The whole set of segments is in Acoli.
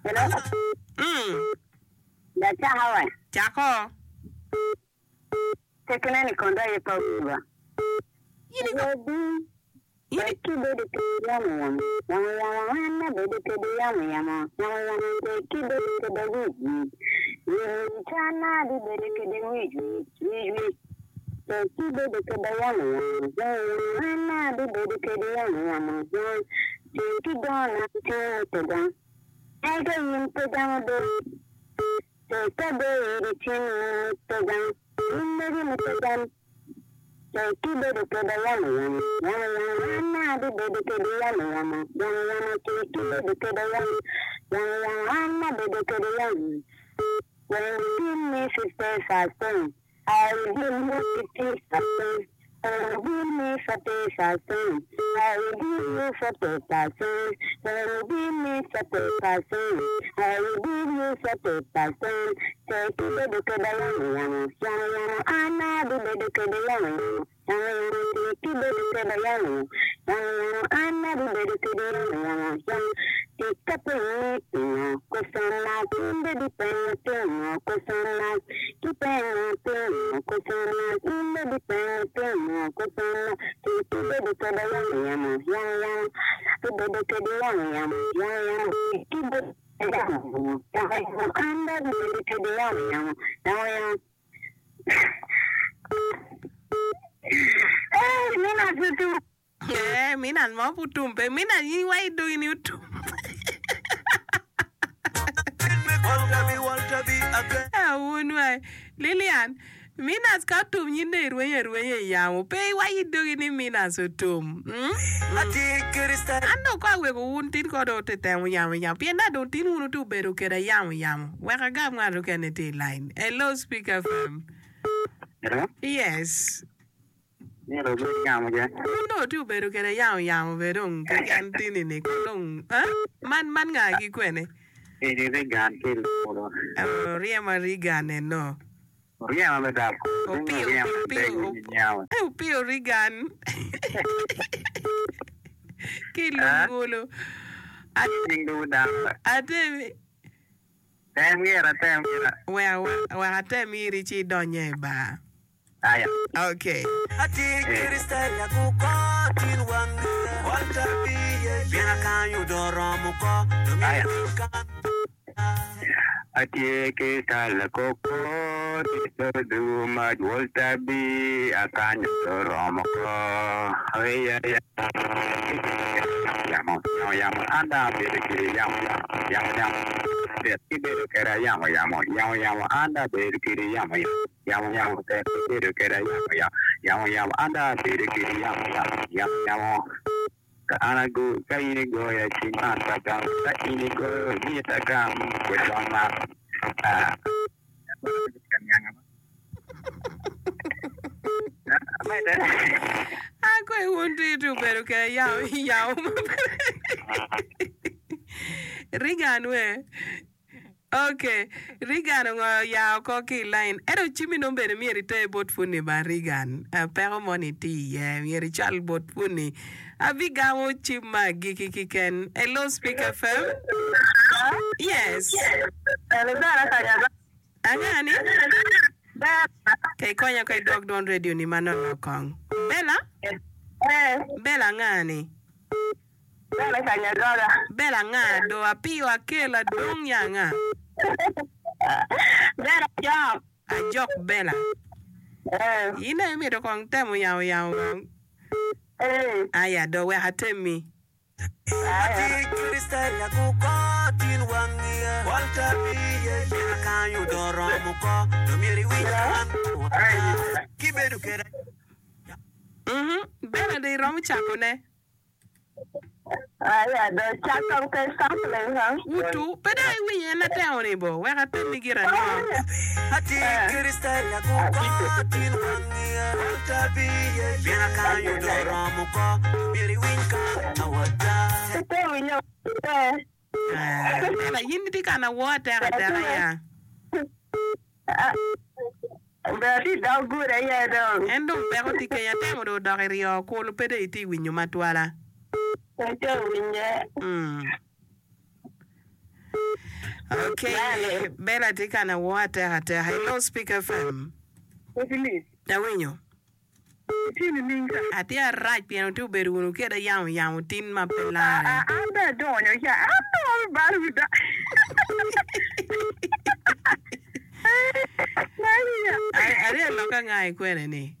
Hello. Mm. Lacaka wa. Cako. Tekone ni kondo aye pa wiwa. In i Wadi. In i. Wek ibedo kede yamo yamo, yamo yamo an abedo kede yamo yamo, yamo yamo tek ibedo kede wic wic, wic wic an abibedo kede wic wic, wic wic tek ibedo kede yamo yamo, yamo yamo an abibedo kede yamo yamo, yamo tek idona tye mutega, ento in pe gamo dong tek ado iri cwiny mutega, in megi mutega. Tek ibedo keda yamo yamo, yamo yamo an abibedo kedi yamo yamo, yamo yamo Tek ibedo keda yamo, yamo yamo an abedo kedi yamo When you give me 50,000, I will give you 50,000 When you give me 40,000, I will give you 40,000 When you give me 40,000, I will give you 40,000 Tek ibedo keda yamo yamo, yamo yamo An abibedo kede yamo yamo, yamo yamo Tek ibedo keda yamo yamo, yamo yamo An abibedo kede yamo yamo, yamo Tika penyi pingo kwecona in bed ipenyo pingo kwecona Kipenyo pingo kwecona in bed ipenyo pingo kwecona Tek ibedo keda yamo yamo, yamo yamo Abibedo kede yamo yamo, yamo yamo Tek ibedo Ee, minan mo pud tum pe. Minan in wa idogi ni otum. Awun wa. Lilian, Minas ka otum nyin dong irwenyo arwenya i yamo. Pe iwac idogi ni Minas otum. Mm? An dong ko aweko wun tin ko dong ote temo yamo yamo. Pien na dong tin wun ote obedo keda yamo yamo. Wek agam ngat okene tye i line. Hello Speak FM. Hello? Yes. Myero obed yamo ja. Wun dong ote obedo keda yamo yamo be dong keken tini ni ko dong eh? Man man nga ki kwene? Eni Reagan ki Lulo. Oh, ryemo Reagan eno. Oryema me dako. Opiyo, Oryema me opiyo, dako op- nyawa. eh, opiyo Reagan. Ki lungulu. At- Nying dugu dako. Atemi. Tem gira, tem gira. Wek wek atem iri ci idonye i bar. Aya. Okay. Aya. Atye ki tala koko tito du ma jwol tabi akanyo to romo ko Aya ya yamo yamo yamo an dong abedo kede yamo yamo yamo yamo tek ibedo keda yamo yamo yamo yamo an dong abedo kede yamo yamo yamo yamo tek ibedo keda yamo yamo yamo yamo an dong abedo kede yamo yamo yamo yamo Ka an ago, ka in igoya ci man pe agamo, ka in igoyo myero agam kwecon man. Ah. Akwayi wun tye obedo kede yamo yamo maber. Reagan we. Ok, Reagan ongoyo ya oko ki i lain. Ento cimmi nongo bene myero iter bot puni ba Reagan. Peko moni tye iye, myero icwal bot puni. Abigamo cim me agikki kiken. Hello Speak FM. Yes. Anga ni? Ka ikonya ko idwok dwon radio ni manonok kong. Bella? Bella anga ni? Bella Kanyadola. Bella anga do apiyo akel adong ya anga? Bella Ajok. Ajok Bella. Eh. In aye mito kong temo yamo yamo kong. Eh. Aya do wek atemmi. Aya. Mhm. Bella do iromo cako ne. Wutu, pe dok iwinyo en atemo-ni bo? Wek atemmi gire ango? Lela, in itye ka na woo atek ateka ya? En dong peko tye keny atemo dong odok i ryo kulu pe dong itye winyo matwala. Ok, Bella tye ka na woo atek ateka. Hello, Speak FM. Awinyo. Itye nining ka? Atye arac pien wutye obedo wunu keda yamo yamo tin ma pe larre. An bene adonyo ya, an dong abibalo wi da. Arye loka nga ikwene ni?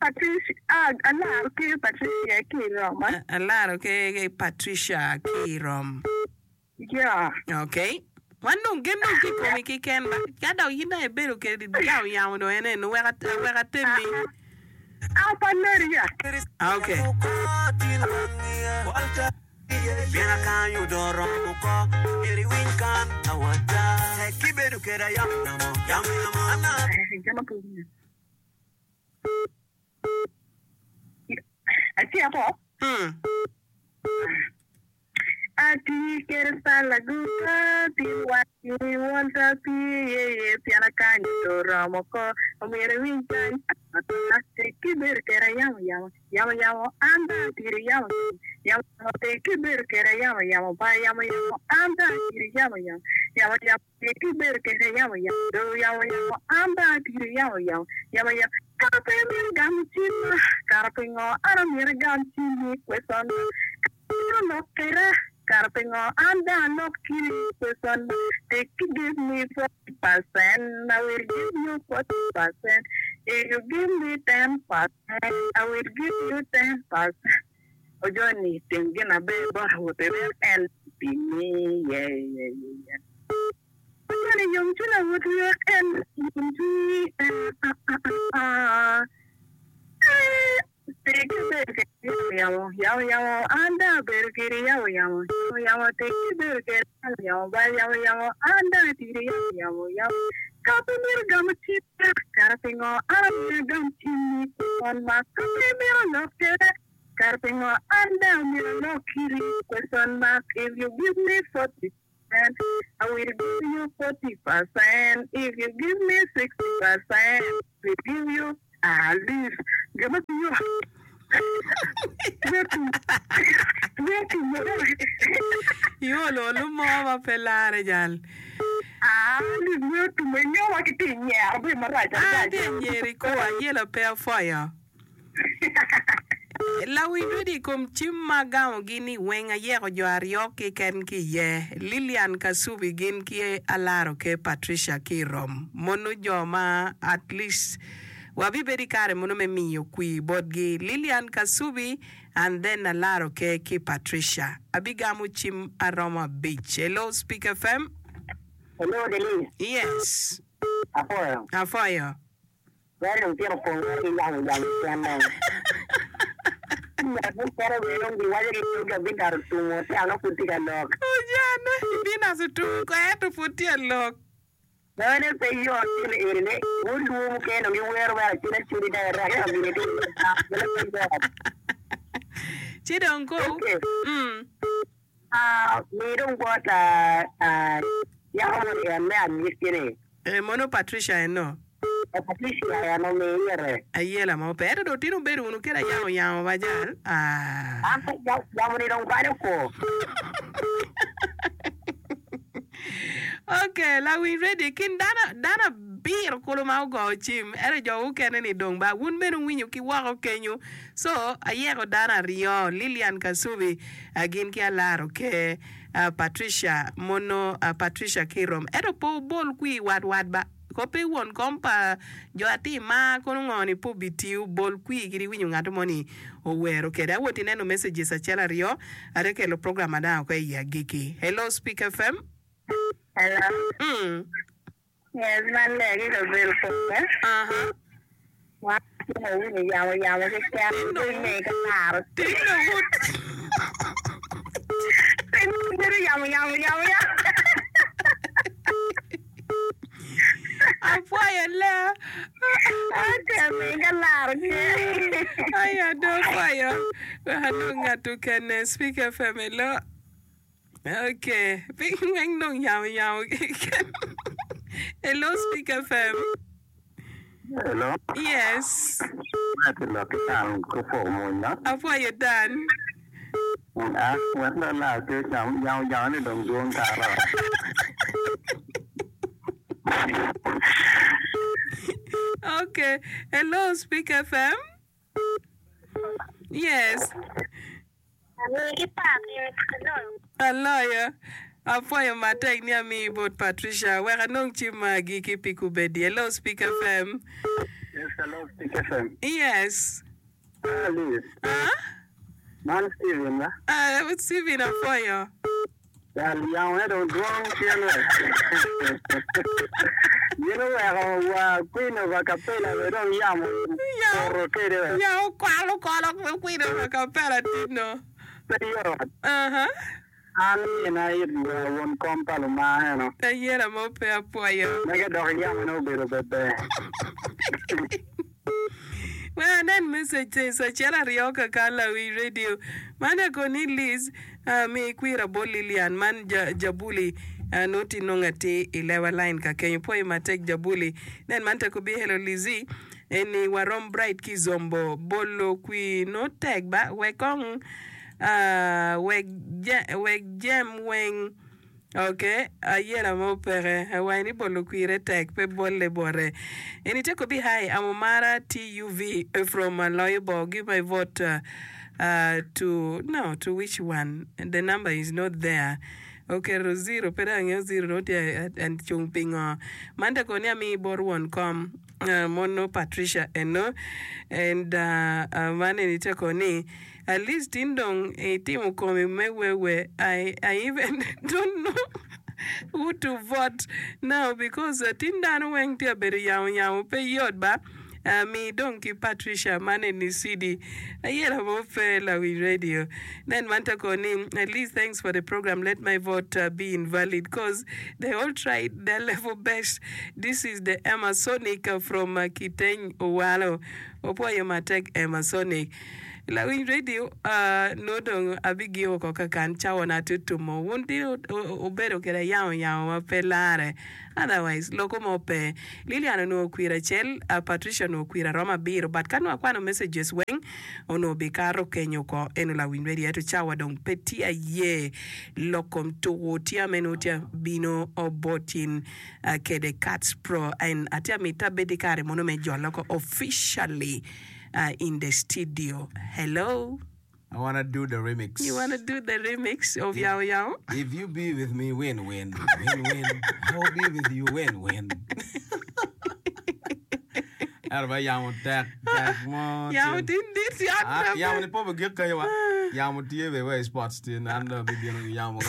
Patricia, ah, alaro ki Patricia ki i Roma. Alaro ki Patricia ki i Rom. Yeah. Ok. Wan dong gen dong tye i komi keken ba. Ka dok in dong ibedo kede yamo yamo dong en eno wek wek atemmi. Ah, pa leri ya. Ok. Acito. Atye kede sala guta pi wacci wolta pi yeye pien akanyo to oromo ko omyero iwiny kany ata tek ki bedo kede yamo yamo yamo yamo an dong atidi yamo yamo yamo yamo tek ki bedo kede yamo yamo ba yamo yamo an dong atidi yamo yamo yamo yamo tek ki bedo kede yamo yamo do yamo yamo an dong atidi yamo yamo yamo yamo kara pe imito gamo cimma kara pingo an omyero agam cimmi question Amito lok kweda, kara pingo an dong alok kiri question Take give me 40% I will give you 40% If you give me 10% I will give you 10% Ojoni tim gin aber bot awobe wek en opimmi yeah yeah yeah Ojoni yom cwiny awobi wek en yom cwinyi ah ah ah ah ah Tic bedo kede yamo yamo, yamo yamo, an dong abedo kede yamo yamo, yamo yamo, tic bedo kede yamo yamo, ba yamo yamo, an dong atidi yamo yamo, yamo, ka pe mito gamo cimma, kara pingo an omyero agam cimmi kwon ma ka pe imito lok keda, kara pingo an dong omyero alok kiri question mark if you give me 40% I will give you 40% if you give me 60% I will give you Ah, Liz, gin ma tiyo Iolo olu mo ma pe lare jal. Ah, Liz, me otumo inyowa ki tye nyero bedo marac adada. An tye nyero i kor ayela pe apwoyo. Lawiny rwedi i kom cim ma agamogi ni weng ayeko jo aryo keken ki iye, Lilian Kasubi gin ki Alaro Ker Patricia ki i Rom. Mono jo ma at least wabibedo i kare mono me miyo kwir botgi, Lilian Kasubi and then Alaro Ker ki Patricia. Abigamo cim aromo abic. Hello Speak FM. Hello Denise. Yes. Apwoyo. Apwoyo. Wek dong tyen opong woko ki yamo yamo kene. Ngat mukene bene dong giwaco ni dog Abinat otumo tyen nongo pud tye ka lok. Ojane, Abinat otumo ko ento pud tye ka lok. Mene pe yot gin eni ni wun luo mukene dong giwero mere acel acel dok irek ento gini tye ka lok mene pe yot. Ci dong ko. Okay. Mm. Ah, mi dong bot yako moni en me agikki-ni. Eh, mono Patricia eno? Eh, Patricia en omi ire. Ayela mo pe. Ento dong tin wubedo wunu kede ayamo yamo ba jal? Ah. An pe, yamo-ni dong balo ko. Ok, lawiny ready. I kin dano, dano abiro kulu ma ogoyo cim, ento jo mukene-ni dong ba wun bene wuwinyo ki woko kenyo. So, ayeko dano aryo, Lilian Kasubi gin ki Alaro Ker, Patricia mono Patricia ki Rom. Ento pe wubol kwir wat wat ba. Ko pe won kom pa jo atir mar kono ngo ni pe obitiyo bol kwir kadi iwinyo ngat mo ni owero kede. Awot ineno messages acel aryo ate kelo program ma dang oko iyi agiki. Hello Speak FM. Hello. Yes, man ler ki kabedo pole. Aha. Wan tye ka winyo yamo yamo keken Tinno pe me ka laro. Tinno wut. Pe bedo yamo yamo yamo yamo. Apwoyo ler. Ate me ka laro ke. Aya do apwoyo. Wek anong ngat okene. Speak FM hello. Ok, piny weng dong yamo yamo keken. Hello Speak FM. Hello. Yes. Ma tye lok ki Dan ki opoko mwony no. Apwoyo Dan. Ah, wek dong alak ki yamo yamo ni dong dwong kara. Okay. Hello, Speak FM. Yes. Aloyo. Apwoyo matek ni amiyi bot Patricia. Wek anong cim ma agikki pi kubedi. Hello, Speak FM. Yes, hello, Speak FM. Yes. Ah, Liz. Ah? Man Steven ba? Ah, Steven apwoyo. Dal yamo ne dong dwong cen we. Gin oweko wa Queen of Acapella be dong yamo poto kede we. Yamo kwalo kolo Queen of Acapella tino. Pe yot. Aha. An mina it wa won kom pa Lumanga eno. Ayela mo pe apwoyo. Mege dok yamo ne obedo beber. Wek anen messages acel aryo kaka lawi radio man eko ni Liz mi kwira bot Lilian man Jabuli nongo tye nongo atir i lewa line ka kenyo pwoyo matek Jabuli nen man tek obi hello Lizzy eni warom bright ki zombo bolo kwi nongo tek ba wek kong wek jem weng Ok, ayela mo peke. Awaci ni bolo kwire tek, pe bolle bote. Eni te kobi hi, I'm Omara TUV from Aloyo Bor, give my vote uh, to, no, to which one? The number is not there. Oketo zero, pe dong angeyo zero nongo tye cung pingo. Man te koni amii bot won kom, uh, mono Patricia eno, and uh, uh, man eni te koni, At least in dong itimo komi me wewe I I even don't know who to vote now because tin dano weng tye abedo yamo yamo pe yot ba mi dong ki Patricia man eni CD ayela mo pe lawiny radio nen man te ko ni at least thanks for the program let my vote be invalid cause they all tried their level best this is the Emma Sonic from Kiteny Owalo opwoyo matek Emma Sonic. Lawiny redio, Nongo dong abigiko oko kakan cawana tye otumo. Wun tye wubedo kwede yamo yamo ma pe larre. Otherwise, loko mo pe. Lilian onongo okwir acel, Patricia onongo okwir aromo abiro, but ka nongo akwano messages weng, onongo bikato kenyo oko. Eno lawiny redio, ento cawa dong pe tye aye. Lok kom tuku tye meno tye bino bot in kede Kats Pro and atye amito abed ki kare mono me jolo oko officially. In the studio hello. I wanna do the remix. You wanna do the remix of Yao Yao? If you be with me win win win win I will be with you win win. Ento ba yamo tek tek mo. Yamo tin dit yat. Ah, yamo ni po gik kayo wa. Yamo tye be wa i sports tin an dong abibino ki yamo.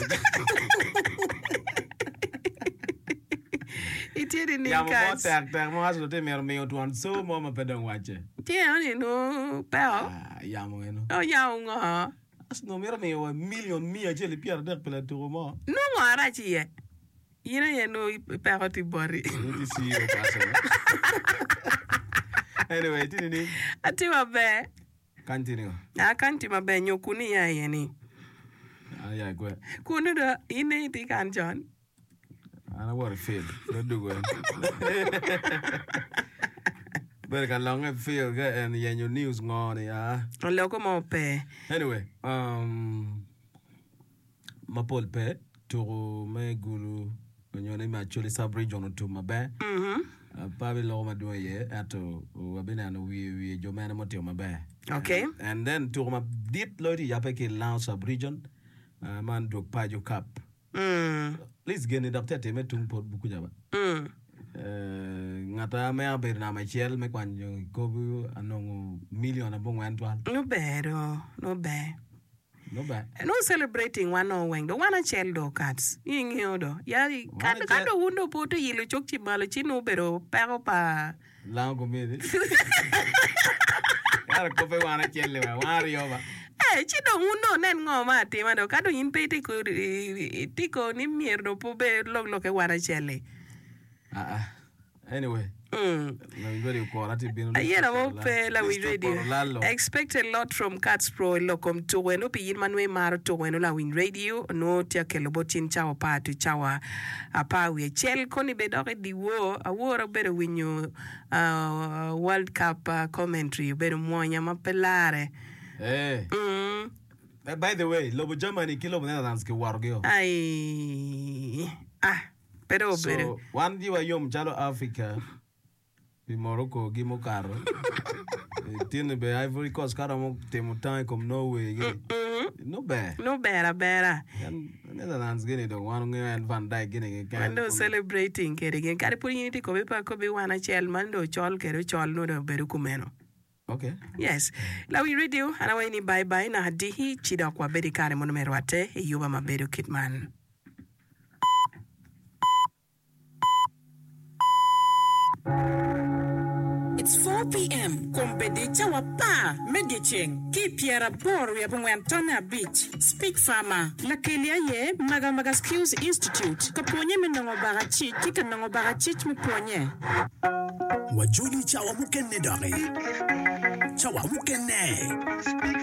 Itye nining Yamo mo kac? tek tek mo Arsenal tye mito miyo twon co mo ma pe dong wacce. Tye eno ni nongo peko. Ah, yamo eno. O yamo ngo? Arsenal mito miyo wa milion miya acel ki pyeraadek pi latuko mo. Nongo ngo arac iye? In aye nongo peko tye boti. In itye CEO pa Arsenal. Anyway, itye nining? Atye maber. Kany tye ningo? A kany tye maber nyo kunu iya iye ni? An aya i kwe. Kunu do in aye itye kan con? An awoto i field, dong dugo en. Bedo ka longe i field ka en yenyo news ngo ni aa. Loko mo pe. Anyway, um, mapol pe, tuku me gulu onyo ni me Acholi sub region otum maber. Pe abiloko madwong iye ento wabineno wiye wiye jo mene mutimo maber. Okay. And then tuku madit loyo tye yabbe ki i Lango sub region, man dwog paco cup. Please geni dok tye atime tung pot kuca ba. Ngata me abedo namba acel me kwanyo kikopo anongo million abongwen twal. Nongo ber do, nongo ber. Nongo ber. Nongo celebrating wan nongo weng do wan acel do kats ingeyo do ya ka ka do wun do pe ote yilo cok ci malo ci nongo obedo peko pa Lango komiti. Ento kope wan acel-li wa, wan aryo ba. Eh, ci dong wun dong wunen ngo ma atima dong, ka dong in pe itye ko, itye ko ni myero dong pe wubed lok lokke wan acel-li. Aa. Anyway, lawiny radio okora tye bino. Ayena mo pe lawiny radio. Expect a lot from Kats Pro i lok kom tuko eno pi in ma nongo imaro tuko eno lawiny radio nongo tye ka kelo bot cin cawa apar to cawa apar wiye acel koni bene dok i dyewor awor abedo winyo World Cup commentary obedo mwonya ma pe lare. Eh. By the way, lobo Germany ki lobo Netherlands kiwotogio. Aii. Ah. Pe dong obedo. So wan giwa yom calo Africa pi Morocco gi mukato. Tinni bene Ivory Coast ka romo timo tango i kom Norway gi nongo ber. Nongo ber abera. En Netherlands gini dong wan wangeyo en Van Dijk gini keken. Wan dong celebrating kede gin. Kadi pud in itye kobi pe akobi wan acel man dong ocol kede ocol nongo dong obedo kumeno. Okay. Yes. Lawiny radio, an awaco ni bye bye naka diki ci dok wabed i kare mono me rwatte i yuba ma bedo kit man. It's 4 PM, Kombeddi cawa apar me dyeceng ki i pyeraboro wiye abongwen tonne abic. Speech Farmer, Lakeli aye Maga Maga Skills Institute ka pwonye me nongo bakacic ki ka nongo bakacic me pwonye. Wajoli cawa mukene doki. Cawa mukene.